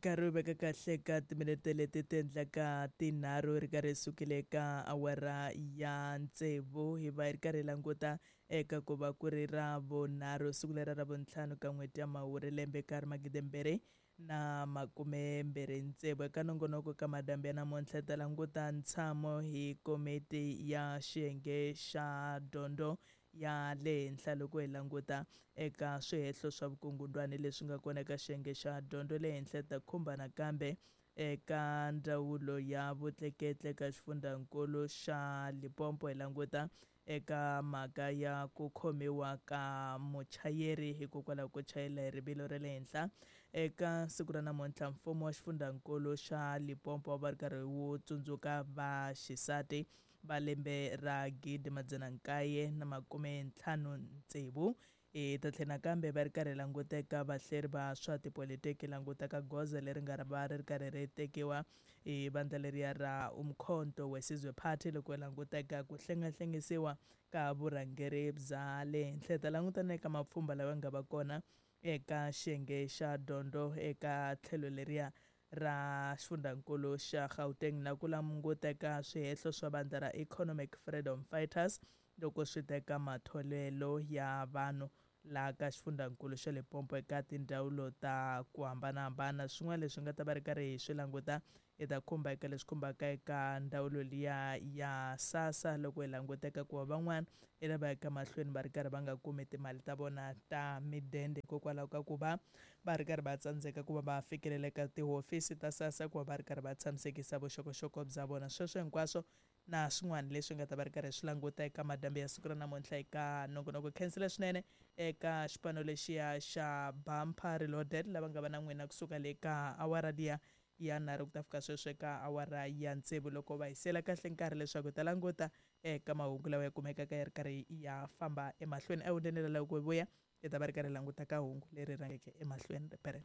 Nkarhi wu veka kahle ka timinete leti ti endlaka tinharhu ri karhi sukile ka awara ya tsevu, hi va hi ri karhi hi languta eka ku va ku ri ra vunharhu, siku lera ra vuntlhanu ka n'hweti ya Mhawuri, lembe ka ri 2026. Eka nongonoko ka madyambu ya namuntlha hi ta languta ntshamo hi komiti ya xiyenge xa dyondzo ya le henhla, loko hi languta eka swihehlo swa vukungundwani leswi nga kona eka xiyenge xa dyondzo le henhla. Ta khumba nakambe eka ndzawulo ya vutleketli eka xifundzankulu xa Limpopo, hi languta eka mhaka ya ku khomiwa ka muchayeri hikokwalaho ko chayela hi rivilo ra le henhla. Eka siku ra namuntlha, mfumo wa xifundzankulu xa Limpopo va ri karhi wu tsundzuka vaxisati va lembe ra 1956. Hi ta tlhela nakambe va ri karhi languteka vahleri va swa tipolitiki, langutaka goza leri nga va ri ri karhi ri tekiwa hi vandla leriya ra Umkhonto weSizwe Party, loko hi languteka ku hlengahlengisiwa ka vurhangeri bya le henhla. Hi ta langutana eka mapfhumba lawa nga va kona eka xiyenge xa dyondzo eka tlhelo leriya ra xifundzankulu xa Gauteng, na ku languteka swihehlo swa vandla ra Economic Freedom Fighters loko swi teka matholelo ya vanhu laha ka xifundzankulu xa Limpopo eka tindzawulo ta ku hambanahambana. Swin'wana leswi nga ta va ri karhi hi swi languta, hi ta khumba eka leswi khumbaka eka ndzawulo liya ya SASSA, loko hi languteka ku va van'wana hi lava yaka mahlweni va ri karhi va nga kumi timali ta vona ta midende hikokwalaho ka ku va va ri karhi va tsandzeka ku va va fikelela eka tihofisi ta SASSA ku va va ri karhi va tshamisekisa vuxokoxoko bya vona. Sweswo hinkwaswo na swin'wana leswi nga ta va ri karhi swi languta eka madyambu ya siku ra namuntlha eka nongonoko. Khensile swinene eka xipano lexiya xa Bumper Reloaded lava nga va na n'wina kusuka le ka awara liya ya nharhu ku ta fika sweswo eka awara ya tsevu, loko va hisela kahle nkarhi leswaku hi ta languta eka mahungu lawa ya kumekaka ya ri karhi ya famba emahlweni. Ehundeni ra loko hi vuya, hi ta va ri karhi languta ka hungu leri rhangeke emahlweni ripere.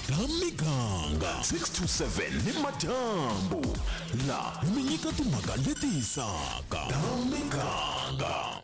Ta miganga 6 to 7 ni madyambu, la mi nyika timhaka leti hisaka ta miganga.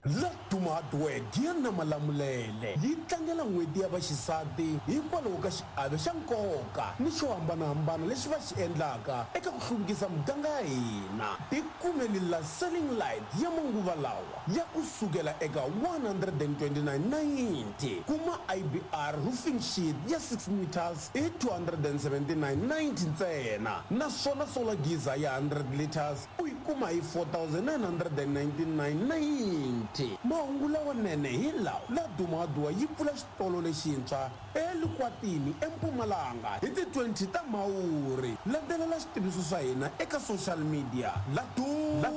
La Duma Hardware Giya Malamulele yi tlangela n'hweti ya vaxisati hikwalaho ka xiave xa nkoka ni xo hambanahambana lexi va xi endlaka eka ku hluvukisa muganga ya hina. Tikumeli la ceiling light ya manguva lawa ya ku sukela eka 129.90. Kuma IBR roofing sheet ya 6 meters hi 279.90 ntsena, naswona solar geyser ya 100 liters u yi kuma hi 4999.90. Mahungu lawanene hi lawa: La Duma Hardware yi pfula xitolo lexintshwa eLukwatini eMpumalanga hi ti 20 ta Mhawuri. Landzelela xitiviso swa hina eka social media. La Duma,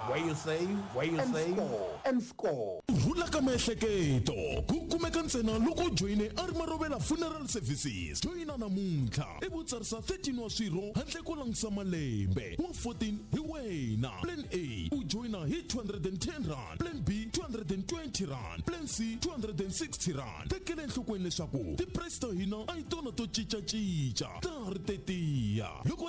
where you save, where you and save score and score. Ku rhula ka miehleketo ku kumeka ntsena loko u joyine a ri Marovela Funeral Services. Joyina namuntlha ivi u tsarisa 13 wa swirho handle ko langutisa malembe, wa 14 hi wena. Plan A, u joyina hi R210, plan B R220, plan C R260. Tekela enhlokweni leswaku ti-price ta hina a hi tona to cincacinca, ta ha ri tetiya loko.